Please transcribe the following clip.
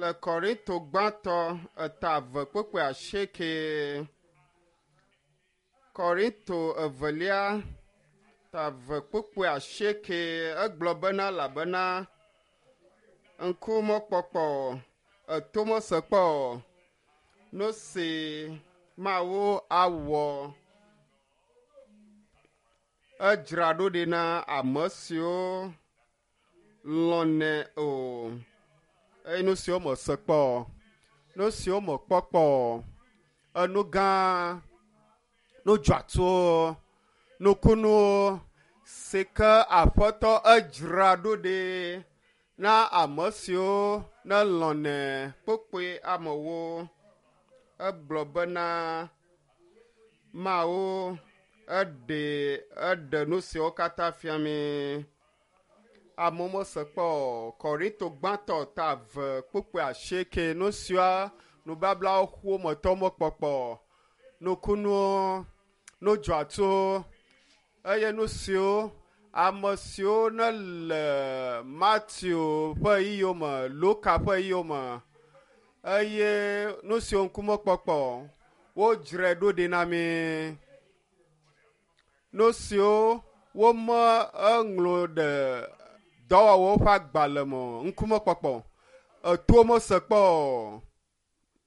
Le Korinto gbãtɔ eta eve kpukpui asieke. Korinto evelia ta eve kpukpui asieke egblɔ bena elabena ŋku mekpɔkpɔ o, eto mesekpɔ o, nu si Mawu awɔ edzra ɖo ɖi na ame siwo lɔ̃nɛ o eye nu siwo mese kpɔ o, nu siwo mekpɔ kpɔ o, enu gã, nu dzɔatsuwo, nukunuwo si ke Aƒetɔ edzra ɖo ɖi na ame siwo nelɔ̃nɛ kpukpui amewo. Egblɔ bena Mawu eɖe eɖe nu siwo katã fia mí. Amewo mese kpɔ o. Korinto gbãtɔ ta eve kpukpui asieke nu siwo nubablawo ƒometɔwo mekpɔkpɔ o, nukunuwo, nu dzɔatsuwo eye nu siwo ame siwo nele Mateo ƒe ɣeyiɣiwo me, Luka ƒe ɣeyiɣiwo me eye nu siwo ŋkumekpɔkpɔ o, wodzrae ɖo ɖi na mí. Nu siwo wome eŋlɔ ɖe dɔwɔwɔwo ƒe agbalẽ me o, ŋkumekpɔkpɔ, etowo mese kpɔ o.